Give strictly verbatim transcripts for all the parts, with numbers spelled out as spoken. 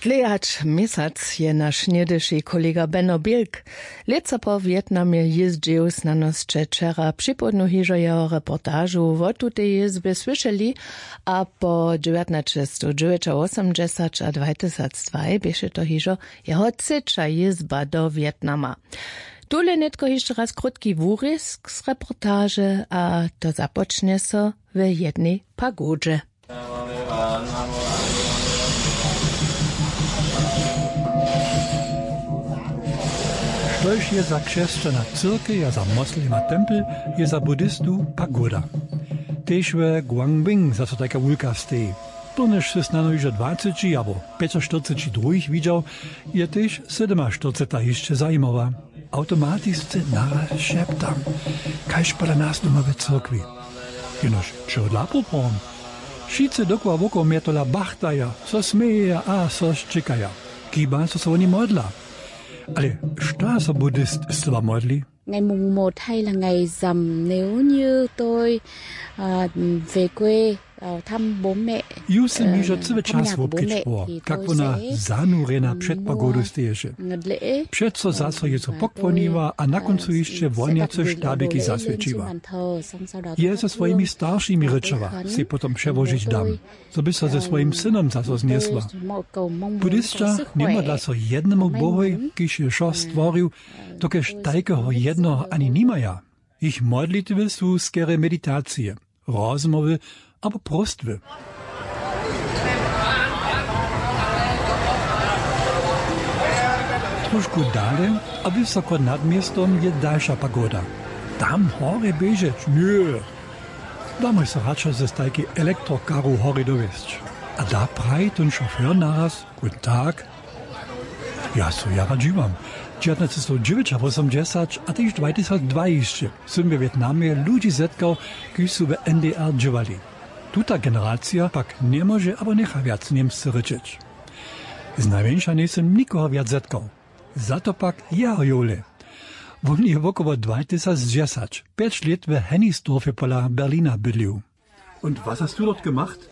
Dlejać měsac je naš něhdyši kolega Beno Bilk lětsa po Wjetnamje jězdźił. Snano sće wčera připołdnu hižo jeho reportažu wo tutej jězbje słyšeli. A po dźewjatnaćestowdźewjećawosomdźesać a dwajtysacdwaj běše to hižo jeho třeća jězba do Wjetnama. Tule nětko hišće raz krótki wurězk z reportaže a to započnje so w jednej pagodźe. Štož je za křesćana cyrkej a za moslema tempel, je za budistu pagoda. Tež w Guangbing zaso tajka wulka steji. Turnyž sy snano hižo dwaceći abo pjećaštyrceći druhich widźał, je tež sydymaštyrceta hišće zajimawa. Awtomatisce naraz šeptam, kaž pola nas doma w cyrkwi. Jenož čehodla poprawom? Wšitcy dokoła wokoło mje tola bachtaja, so smějeja a so šćěkaja. Kiba so so woni modla. Ale što so budist z toba modli? Ngày mùng một hay là ngày rằm nếu như tôi à, về quê à, thăm bố mẹ. Ju sym hižo cyły čas wobkedźbował, kak wona zanurjena před pagodu steješe. Přeco zaso je so pokłoniła a na kóncu hišće wonjace štabiki zaswjećiła. Je ze swojimi staršimi rěčała, sej potom přełožić dam, zo by so ze swojim synom zaso znjesła. Budisća njemodla so jednemu bohoj, kiž je wšo stworił, dokelž tajkeho jednoho ani nimaja. Jich modlitwy su skerje meditacije, rozmołwy abo próstwy. Trošku dale a wysoko nad městom je dalša pagoda. Tam horje běžeć? Ně. Damy so radšo ze stajkej elektrokaru horje dowjesć. A da praji tón šofér naraz: Guten Tag. Ja so jara dźiwam. Dźewjatnaćestowdźewjećawosomdźesać a tež dwajtysacdwaj hišće sym we Wjetnamje ludźi zetkał, kiž su w N D R dźěłali. Tuta generacija pak njemóže abo njecha wjac němsce rěčeć. Znajmjeńša njejsym nikoho wjac zetkał. Za to pak jeho jowle. Wón je wokoło dwajtysacdźesać pjeć lět w Hennigsdorfje pola Berlina bydlił. Und was hast du dort gemacht?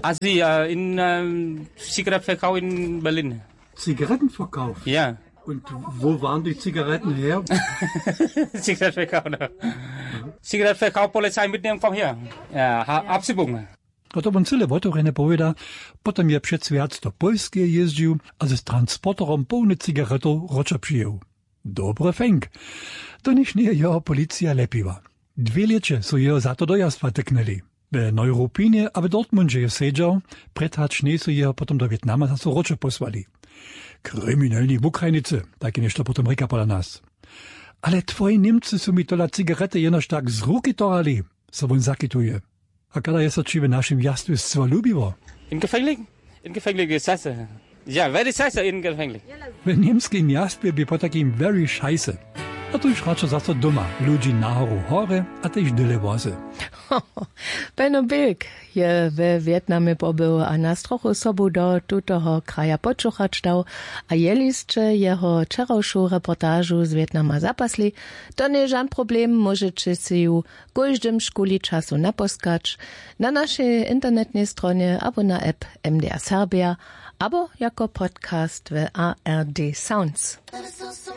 Also ja, in ähm, Zigarettenverkauf in Berlin. Zigarettenverkauf? Ja. Und wo waren die Zigaretten her? Zigarettenverkauf, ne? Zigarettenverkauf, Polizei mitnehmen, komm her. Ja, ha, abschiebung. A to wón cyle wotewrjene powěda. Potom je přez wjac do Pólskeje jězdźił a z transporterom połny cigaretow wróćo přijěł. Dobry fenk. To nichtó njeje jeho policija lepiła. Dwě lěće su jeho za to do jastwa tyknyli. W Neuruppinje a w Dortmundźe je sedźał, prědhač njejsu jeho potom do Wjetnama zaso wróćo pósłali. Kriminelni wukrajnicy, tajke něšto potom rěka pola nas. Ale twoji Němcy su mi tola cigarety jenož tak z ruki torali, so wón zakituje. A kada je so ći w našim jastwje scyła lubiło? In gefänglich? In gefänglich is scheiße. Ja, very scheiße in gefänglich. W němskim jastwje bě potajkim very scheiße. A tuž radšo zaso doma ludźi nahoru horje a tež dyle wozy. Beno Bilk je we Wjetnamje pobył a nas trochu sobu do tutoho kraja počuchać dał. A jeli sće jeho wčerawšu reportažu z Wjetnama zapasli, to njeje žan problem, móžeće sej ju kóždym šuli času naposkać na našej internetnej stronje abo na app M D R Serbia abo jako podcast w A R D Sounds.